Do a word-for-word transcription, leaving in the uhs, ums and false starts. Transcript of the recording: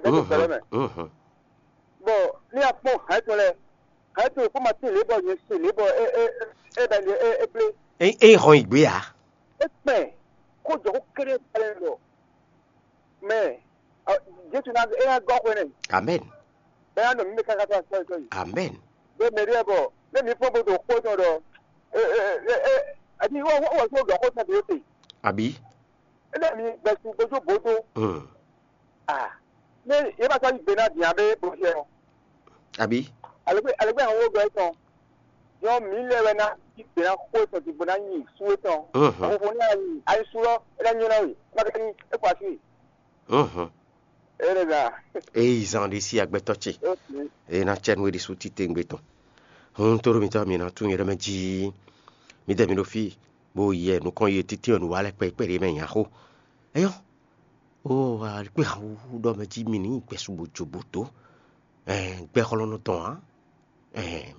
Lɛ́ dó gbɛlɛ́ mɛ. Bɔ ní a kpɔ́n hɛ̌ tɔn lɛ́ɛ, hɛ̌ tɔn e kpó ma tín lě bɔ nyɛ se lě bɔ é é é bɛ é é blé. É é hɔn yi gbé ǎ. É kpɛn kó jɔ kó kéré balẹ̀ lɔ. Mɛ Jesu ná é ná gɔ́ xwe nɛ. Amen. Bɛ́ ná nɔ mí mɛ káká tó asɔ́ tɔn yi. Amen. Bɛ́ mɛ ɖíe bɔ bɛ́ mi fɔ́n bó ɖo xó tɔn ɖɔ. Ɛ ɛ ɛ ɛ ɛ adi wɔ wɔ wɔ só ɖɔ xó tɔn ɖo te. Àbí? Ɛ lɛ mi gbɛsu gbójú bótó. Hmm. Ah. Ní yé bá sɔ́ yí gbe ná dǐn abé bó ṣe ɔ. Àbí? Alɛgbé alɛgbé àwọn owó gbɛ tɔn. Yɔ mí lɛ wɛ ná yí gbe ná xó tɔn dìgbò ná nyi sú tɔn. Mhm. Àwọn fún ní ayi ayi sú lɔ é ná nyɔ ná wì. Má kẹ́ ní é kɔ así wì. Mhm. É lɛ gà. Eyi zan ɖé sí agbɛtɔ ce. Ó sì. Eye ná cɛ nú é ɖésú titewungbe tɔn. Hun tó ɖo mitɔ́ mi ná tún nyɛ ɖɔ mɛ jí. Mi dɛ mi ɖo fí bó yɛ nukɔn yi títí ɔ́ nǔ wa lɛ́ kpɛɖé mɛ nya xó. Eyɔ́. Ó alikpé awu ɖɔ mɛ jí mi ní gbɛsu bó jo bó dó. Ɛn gbɛxɔlɔnɔ tɔn ǎ. Ɛn